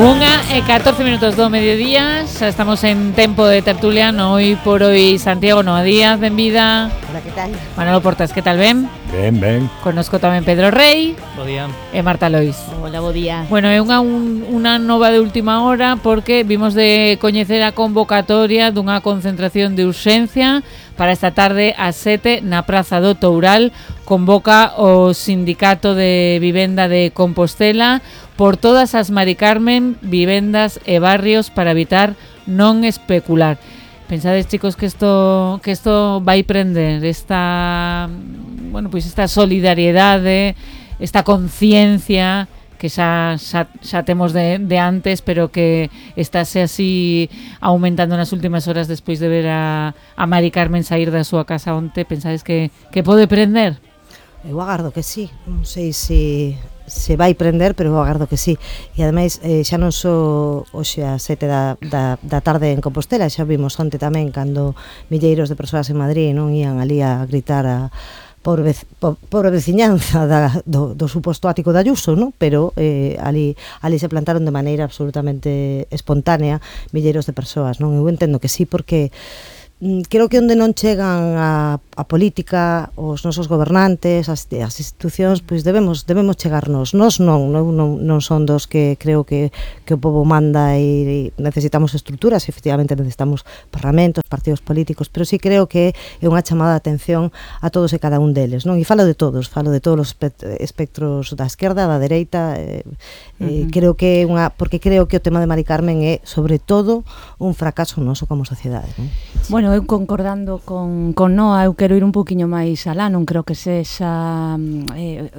1:14 do mediodía. Xa estamos en tempo de tertulia. Hoy por hoy Santiago Noa Díaz, benvida. Hola, que tal? Manolo Portas, que tal, ben? Ben. Conozco tamén Pedro Rey. Bo día. E Marta Lois. Hola, bo día. Bueno, é unha nova de última hora porque vimos de coñecer a convocatoria dunha concentración de urxencia para esta tarde ás 7 na Praza do Toural. Convoca o Sindicato de Vivenda de Compostela por todas as Mari Carmen, vivendas e barrios para evitar non especular. Pensades, chicos, que isto vai prender esta solidariedade, esta conciencia que xa temos de antes, pero que estáse así aumentando nas últimas horas despois de ver a Mari Carmen sair da súa casa onte. Pensades que pode prender? Eu agardo que sí. Non sei se vai prender, pero eu agardo que sí. E ademais xa non só hoxe a 7 da tarde en Compostela, xa vimos onte tamén cando milleiros de persoas en Madrid non ían ali a gritar por veciñanza do suposto ático de Ayuso, non? Pero ali se plantaron de maneira absolutamente espontánea milleiros de persoas, non? Eu entendo que sí, porque creo que onde non chegan a política, os nosos gobernantes, as institucións, pois debemos chegarnos. Nós non son dos que creo que o pobo manda e necesitamos estruturas, efectivamente necesitamos parlamentos, partidos políticos, pero sí creo que é unha chamada de atención a todos e cada un deles, non? E falo de todos os espectros da esquerda, da dereita, creo que porque creo que o tema de Mari Carmen é, sobre todo, un fracaso noso como sociedade, non? Bueno, eu concordando con Noa, eu quero ir un poquinho máis alá, non creo que sexa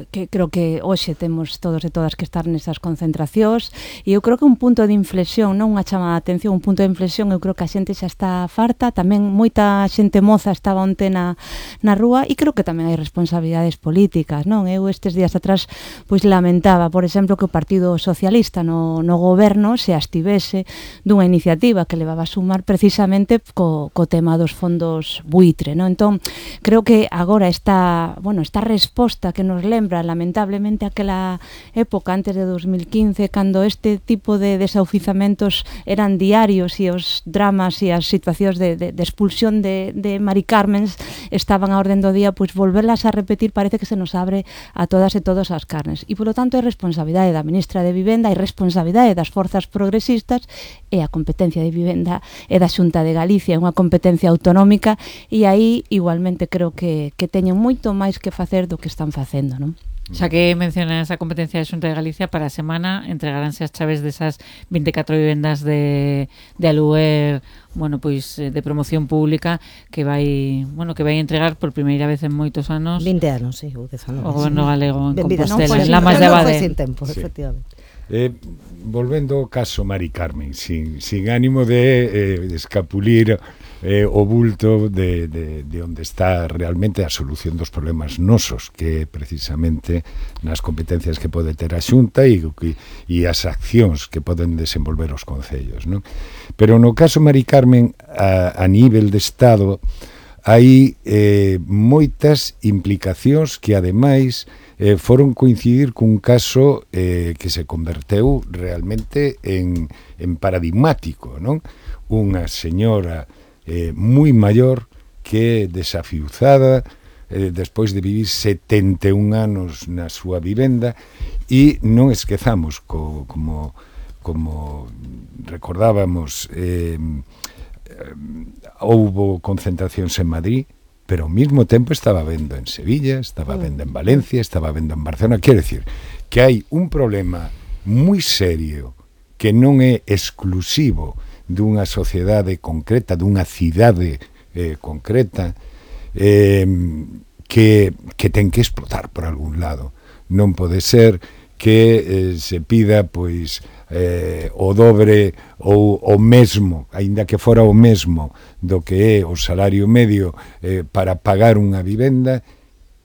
creo que hoxe temos todos e todas que estar nesas concentracións, e eu creo que un punto de inflexión, non unha chamada de atención, un punto de inflexión. Eu creo que a xente xa está farta, tamén moita xente moza estaba onte na rúa, e creo que tamén hai responsabilidades políticas, non? Eu estes días atrás pois lamentaba, por exemplo, que o Partido Socialista no goberno se abstivese dunha iniciativa que levaba a sumar precisamente co tema dos fondos buitre, non? Entón, creo que agora esta resposta que nos lembra lamentablemente aquela época antes de 2015, cando este tipo de desaufizamentos eran diarios e os dramas e as situacións de expulsión de Mari Carmens estaban a orden do día, pois volverlas a repetir parece que se nos abre a todas e todos as carnes. E, polo tanto, é responsabilidade da ministra de Vivenda e responsabilidade das forzas progresistas, e a competencia de vivenda é da Xunta de Galicia, é unha competencia autonómica, e aí igualmente creo que teñen moito máis que facer do que están facendo, non? Xa que mencionas a competencia da Xunta de Galicia, para a semana entregaránse as chaves desas 24 vivendas de aluguer, pois de promoción pública que vai entregar por primeira vez en moitos anos. 20 anos, sí, ou 19. O goberno galego en Compostela, en Lamas de Abade. Sin tempo, sí. Efectivamente. Volvendo ao caso Mari Carmen, sin ánimo de escapulir o bulto de onde está realmente a solución dos problemas nosos, que precisamente nas competencias que pode ter a Xunta e as accións que poden desenvolver os concellos, non? Pero no caso Mari Carmen, a nivel de Estado, hai moitas implicacións que ademais foron coincidir cun caso que se converteu realmente en paradigmático, non? Unha señora moi maior que desafiuzada despois de vivir 71 anos na súa vivenda, e non esquezamos como recordábamos, houbo concentracións en Madrid, pero ao mesmo tempo estaba vendo en Sevilla, estaba vendo en Valencia, estaba vendo en Barcelona. Quero dicir que hai un problema moi serio que non é exclusivo dunha sociedade concreta, dunha cidade concreta, que ten que explotar por algún lado. Non pode ser que se pida pois o dobre ou o mesmo, aínda que fora o mesmo do que é o salario medio para pagar unha vivenda.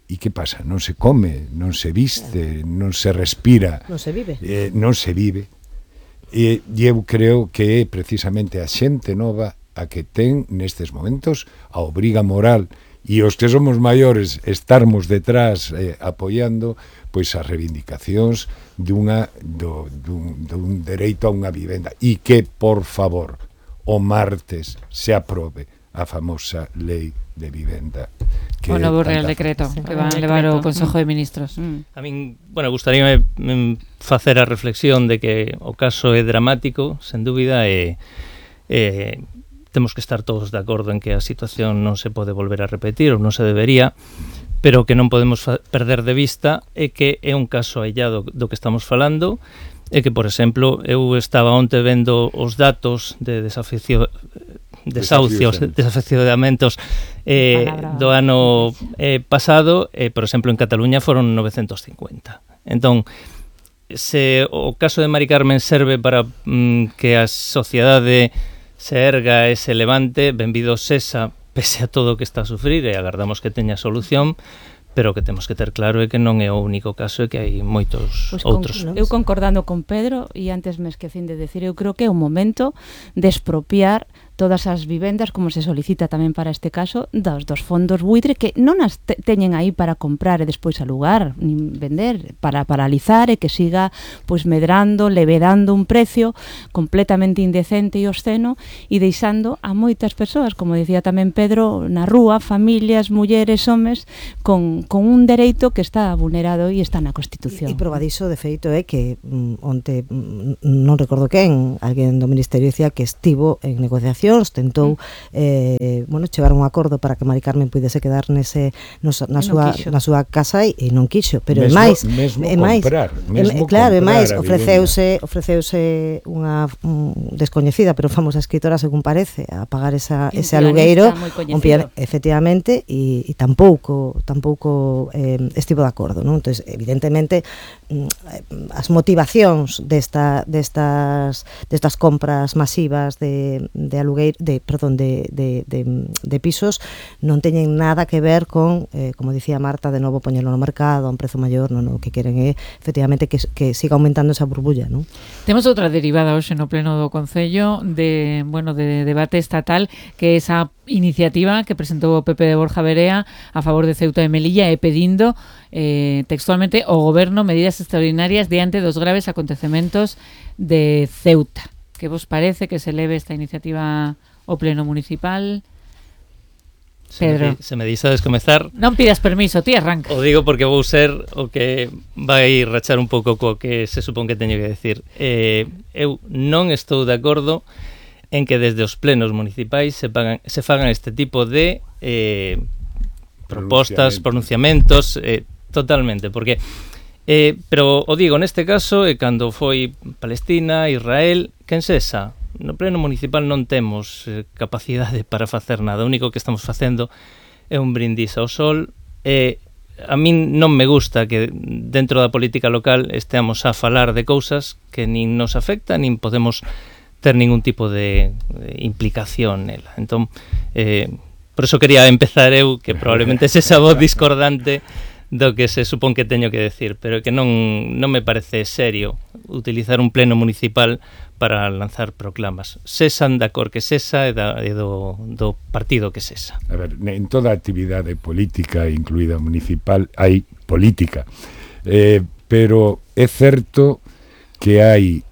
E que pasa? Non se come, non se viste, non se respira, non se vive. E eu creo que é precisamente a xente nova a que ten nestes momentos a obriga moral e os que somos maiores estarmos detrás apoiando pois as reivindicacións dun dereito a unha vivenda, e que, por favor, o martes se aprobe a famosa lei de vivenda, que o novo Real Decreto que van a levar o Consejo de Ministros. A min, gustaríame facer a reflexión de que o caso é dramático, sen dúbida, e temos que estar todos de acordo en que a situación non se pode volver a repetir ou non se debería, pero que non podemos perder de vista é que é un caso aillado do que estamos falando, e que, por exemplo, eu estaba onte vendo os datos de desafeccionamentos do ano pasado, por exemplo, en Cataluña foron 950. Entón, se o caso de Mari Carmen serve para que a sociedade se erga e se levante, benvido sesa, pese a todo o que está a sufrir, e agardamos que teña solución, pero que temos que ter claro é que non é o único caso, e que hai moitos outros. Eu concordando con Pedro, e antes me esquecín de decir, eu creo que é o momento de expropiar todas as vivendas, como se solicita tamén para este caso, dos fondos buitre, que non as teñen aí para comprar e despois alugar, nin vender, para paralizar e que siga pois medrando, levedando un precio completamente indecente e obsceno, e deixando a moitas persoas, como dicía tamén Pedro, na rúa, familias, mulleres, homes, con un dereito que está vulnerado e está na Constitución. E probadiso, de feito, é que onte, non recordo quen, alguén do Ministerio dicía que estivo en negociación, tentou chegar a un acordo para que Mari Carmen puidese quedar na súa casa, e non quixo, pero é máis, ofreceuse unha descoñecida pero famosa escritora, según parece, a pagar ese alugueiro, efectivamente, e tampouco estivo de acordo, non? Entón, evidentemente, as motivacións destas compras masivas de alugueiro, de pisos, non teñen nada que ver con, como dicía Marta, de novo poñelo no mercado a un prezo maior. Non, o que queren é efectivamente que siga aumentando esa burbulla, non? Temos outra derivada hoxe no pleno do Concello de debate estatal, que é esa iniciativa que presentou o PP de Borja Verea a favor de Ceuta e Melilla, e pedindo textualmente ao goberno medidas extraordinarias diante dos graves acontecementos de Ceuta. Que vos parece que se leve esta iniciativa ao pleno municipal? Pedro. Se me deixades comezar. Non pidas permiso, ti arranca. O digo porque vou ser o que vai rachar un pouco co que se supón que teño que decir. Eu non estou de acordo en que desde os plenos municipais se fagan este tipo de propostas, pronunciamentos, totalmente, porque pero o digo, neste caso, cando foi Palestina, Israel, quen sexa, no pleno municipal non temos capacidade para facer nada. O único que estamos facendo é un brindis ao sol, e a min non me gusta que dentro da política local esteamos a falar de cousas que nin nos afectan, nin podemos ter ningún tipo de implicación nela. Entón, por eso quería empezar eu, que probablemente se esa voz discordante do que se supón que teño que decir, pero que non me parece serio utilizar un pleno municipal para lanzar proclamas. Sesan da cor que sesa e do partido que sesa. A ver, en toda actividade política, incluída municipal, hai política. Pero é certo que hai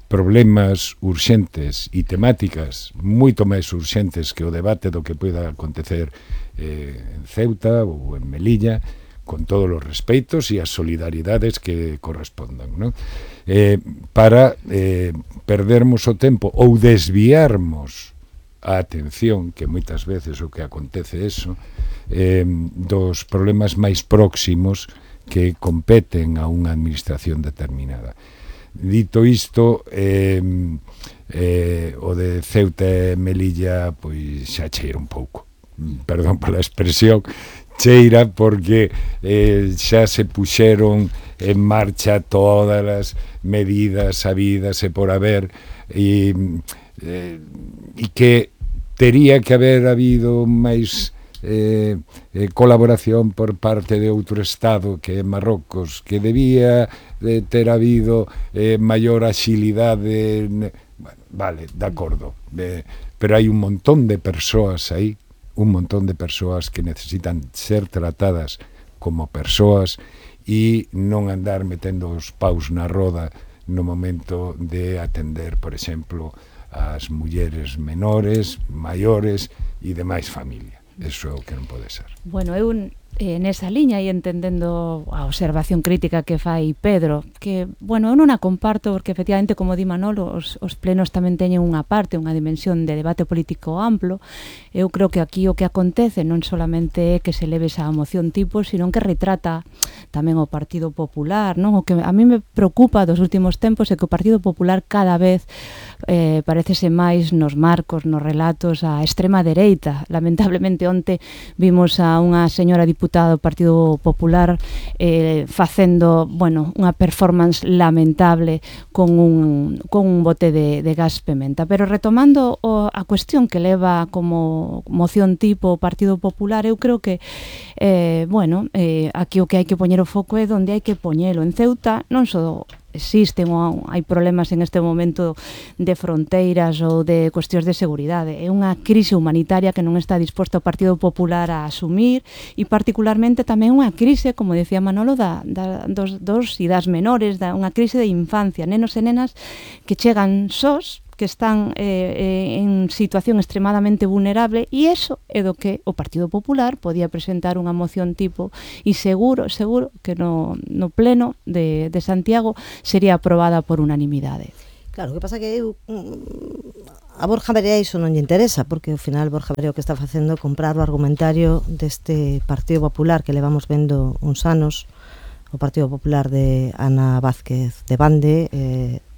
problemas urxentes e temáticas moito máis urxentes que o debate do que poida acontecer en Ceuta ou en Melilla, con todos os respeitos e as solidaridades que correspondan, non? Para perdermos o tempo ou desviarmos a atención, que moitas veces o que acontece eso, dos problemas máis próximos que competen a unha administración determinada. Dito isto, o de Ceuta e Melilla pois xa cheira un pouco, perdón pola expresión, cheira, porque xa se puxeron en marcha todas as medidas sabidas e por haber, e que tería que haber habido máis colaboración por parte de outro Estado, que é Marrocos, que debía de ter habido maior axilidade. Bueno, vale, de acordo, pero hai un montón de persoas aí un montón de persoas que necesitan ser tratadas como persoas e non andar metendo os paus na roda no momento de atender, por exemplo, as mulleres menores, maiores e demais familia. Eso é o que non pode ser. Bueno, eu nesa liña e entendendo a observación crítica que fai Pedro, que, bueno, eu non a comparto porque efectivamente, como di Manolo, os plenos tamén teñen unha parte, unha dimensión de debate político amplo. Eu creo que aquí o que acontece non solamente é que se leve esa moción tipo, sino que retrata tamén o Partido Popular, non? O que a mí me preocupa dos últimos tempos é que o Partido Popular cada vez parecese máis nos marcos, nos relatos a extrema dereita. Lamentablemente onte vimos a unha señora diputada do Partido Popular facendo, bueno, unha performance lamentable con un bote de gas pementa. Pero retomando a cuestión que leva como moción tipo o Partido Popular, eu creo que bueno, aquí o que hai que poñer o foco é onde hai que poñelo. En Ceuta non só existen ou hai problemas en este momento de fronteiras ou de cuestións de seguridade. É unha crise humanitaria que non está disposto o Partido Popular a asumir e particularmente tamén unha crise, como decía Manolo, dos e das menores, unha crise de infancia, nenos e nenas que chegan sós, que están en situación extremadamente vulnerable, e iso é do que o Partido Popular podía presentar unha moción tipo e seguro que no pleno de Santiago sería aprobada por unanimidade. Claro, o que pasa que eu a Borja Verea iso non lle interesa, porque ao final Borja Verea o que está facendo é comprar o argumentario deste Partido Popular que levamos vendo uns anos, o Partido Popular de Ana Vázquez de Bande,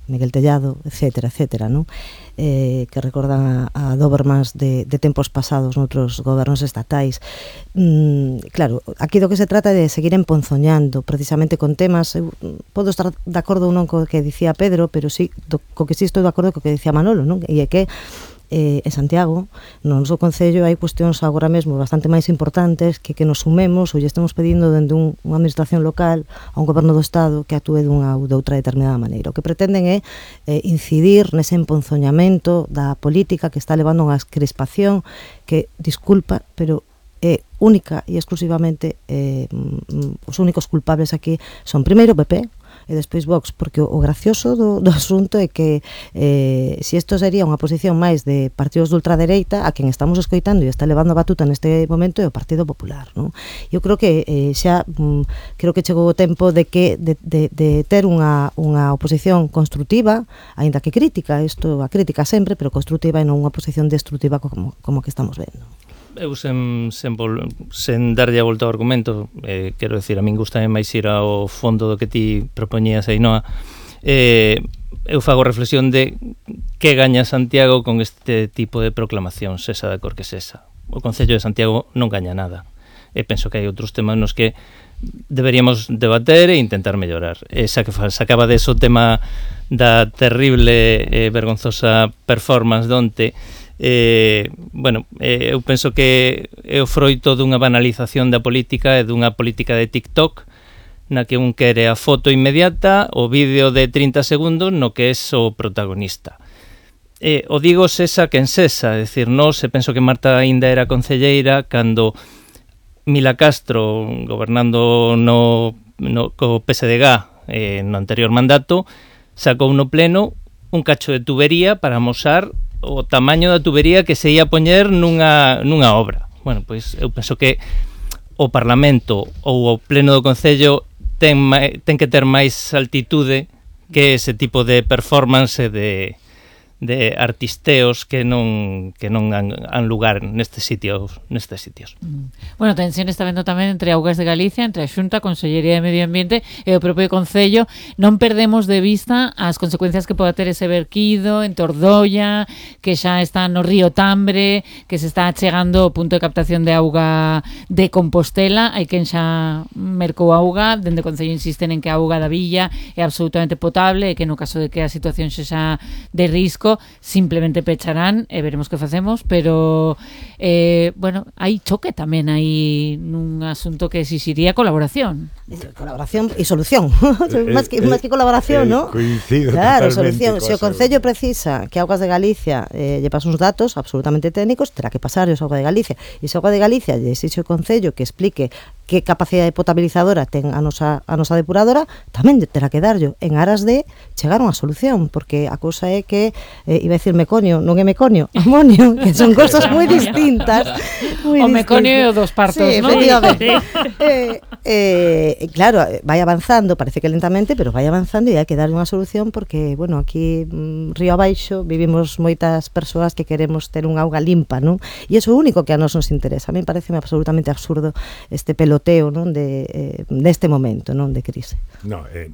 Miguel Tellado, etcétera, non? Que recordan a Dobermans de tempos pasados noutros gobernos estatais. Claro, aquí do que se trata é de seguir emponzoñando precisamente con temas. Eu podo estar de acordo ou non co que dicía Pedro, pero sí, co que sí estou de acordo co que dicía Manolo, non? E é que en Santiago, no noso concello, hai cuestións agora mesmo bastante máis importantes que nos sumemos ou lle estamos pedindo dende unha administración local a un goberno do Estado que actúe dunha ou de outra determinada maneira. O que pretenden é incidir nese emponzoñamento da política que está levando a unha crispación que, disculpa, pero é única e exclusivamente os únicos culpables aquí son primeiro o PP e despois Vox, porque o gracioso do asunto é que se isto sería unha posición máis de partidos de ultradereita, a quen estamos escoitando e está levando a batuta neste momento é o Partido Popular, non? Eu creo que xa creo que chegou o tempo de ter unha oposición construtiva, aínda que crítica, isto a crítica sempre, pero construtiva e non unha oposición destructiva como que estamos vendo. Eu sen darlle a volta ao argumento, quero decir, a min gusta máis ir ao fondo do que ti propoñías, Ainhoa. Eu fago reflexión de que gaña Santiago con este tipo de proclamación, sesa da cor que sesa. O Concello de Santiago non gaña nada. E penso que hai outros temas nos que deberíamos debater e intentar mellorar. Sacaba de eso o tema da terrible vergonzosa performance donte. Eu penso que é o froito dunha banalización da política e dunha política de TikTok na que un quere a foto inmediata, o vídeo de 30 segundos no que é o protagonista. O digo sesa quen sesa, é dicir, penso que Marta aínda era concelleira cando Mila Castro, gobernando co PSDG no anterior mandato, sacou no pleno un cacho de tubería para amosar o tamaño da tubería que se ia poñer nunha obra. Bueno, pois eu penso que o Parlamento ou o Pleno do Concello ten que ter máis altitude que ese tipo de performance de artisteos que non han lugar nestes sitios. Bueno, tensión está vendo tamén entre Augas de Galicia, entre a Xunta, a Consellería de Medio Ambiente e o propio Concello. Non perdemos de vista as consecuencias que pode ter ese verquido en Tordoia, que xa está no río Tambre, que se está chegando ao punto de captación de auga de Compostela. Hai quen xa mercou auga, dende o Concello insisten en que a auga da villa é absolutamente potable e que no caso de que a situación xa de risco público, simplemente pecharán e veremos que facemos, pero bueno, hai choque tamén aí nun asunto que exixiría colaboración. Colaboración e solución. Más que colaboración, ¿no? Coincido claro, totalmente. solución. Se o Concello precisa que Augas de Galicia lle pase uns datos absolutamente técnicos, terá que pasar os Augas de Galicia. E se Augas de Galicia lle exixe o Concello que explique que capacidade potabilizadora ten a nosa depuradora, tamén terá que darllo en aras de chegar a unha solución, porque a cousa é que iba a decir meconio, non é meconio, amonio, que son cosas moi distintas. O meconio e o dos partos, sí, ¿no? Efectivamente. Claro, vai avanzando, parece que lentamente, pero vai avanzando e hai que darlle unha solución porque, bueno, aquí río abaixo vivimos moitas persoas que queremos ter un auga limpa, non? E iso é o único que a nos interesa. A mí parece absolutamente absurdo este peloteo, non, deste momento, non, de crise. No, é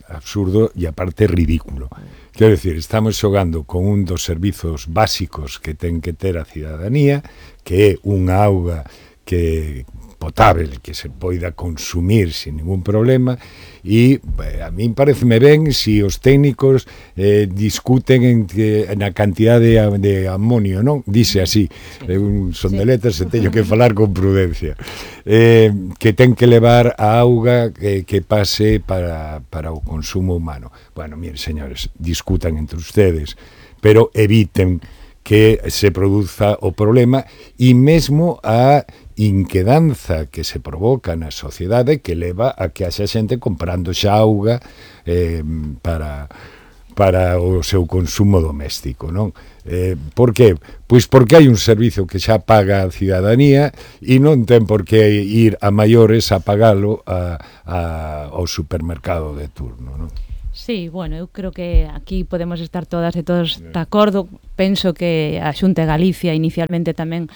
absurdo e aparte ridículo. Quero decir, estamos xogando con un dos servizos básicos que ten que ter a cidadanía, que é unha auga que potable, que se poida consumir sin ningún problema, e a min pareceme ben se os técnicos discuten na cantidade de amonio, non? Dice así, son de letras e teño que falar con prudencia, que ten que levar a auga que pase para o consumo humano. Bueno, miren, señores, discutan entre ustedes, pero eviten que se produza o problema e mesmo a inquedanza que se provoca na sociedade que leva a que haxa xente comprando xa auga para o seu consumo doméstico, non? Por que? Pois porque hai un servizo que xa paga a cidadanía e non ten por que ir a maiores a pagalo ao supermercado de turno, non? Sí, bueno, eu creo que aquí podemos estar todas e todos de acordo. Penso que a Xunta de Galicia inicialmente tamén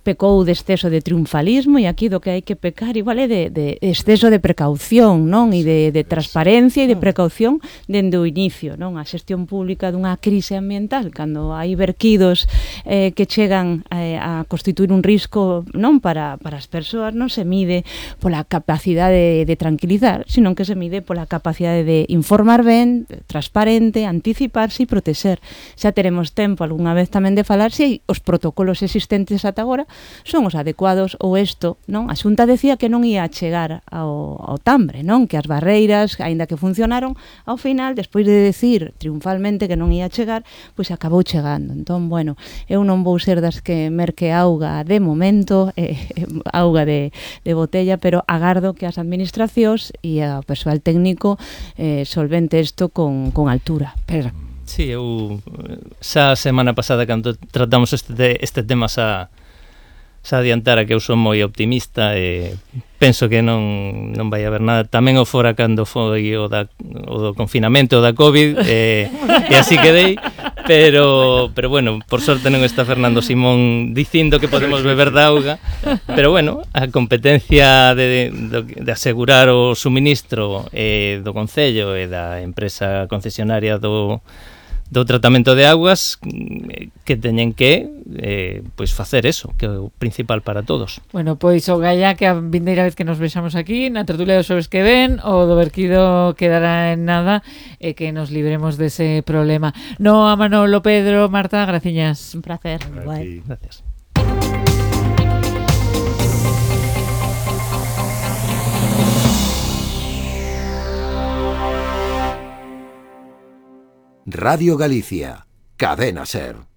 pecou de exceso de triunfalismo, e aquí do que hai que pecar igual é de exceso de precaución, non? E de transparencia e de precaución dende o inicio, non? A xestión pública dunha crise ambiental, cando hai verquidos que chegan a constituir un risco, non, para as persoas, non se mide pola capacidade de tranquilizar, sino que se mide pola capacidade de informar ben, transparente, anticiparse e protexer. Xa teremos tempo algunha vez tamén de falar se os protocolos existentes ata agora son os adecuados ou isto, non? A Xunta decía que non ia chegar ao Tambre, non? Que as barreiras, aínda que funcionaron, ao final, despois de decir triunfalmente que non ia chegar, pois acabou chegando. Entón, bueno, eu non vou ser das que merque auga de momento, auga de botella, pero agardo que as administracións e o persoal técnico solvente isto con altura. Pero sí, eu xa a semana pasada cando tratamos este tema xa adiantara que eu son moi optimista e penso que non vai haber nada. Tamén o fora cando foi o do confinamento da COVID e así quedei, pero bueno, por sorte non está Fernando Simón dicindo que podemos beber da auga, pero bueno, a competencia de asegurar o suministro do Concello e da empresa concesionaria do tratamento de augas que teñen que pois facer eso, que é o principal para todos. Bueno, pois o galla que a vindeira vez que nos vexamos aquí na tertulia dos xoves que ven, o do verquido quedará en nada e que nos libremos dese problema. No, a Manolo, Pedro, Marta, graciñas. Un placer. Gracias. Radio Galicia, Cadena SER.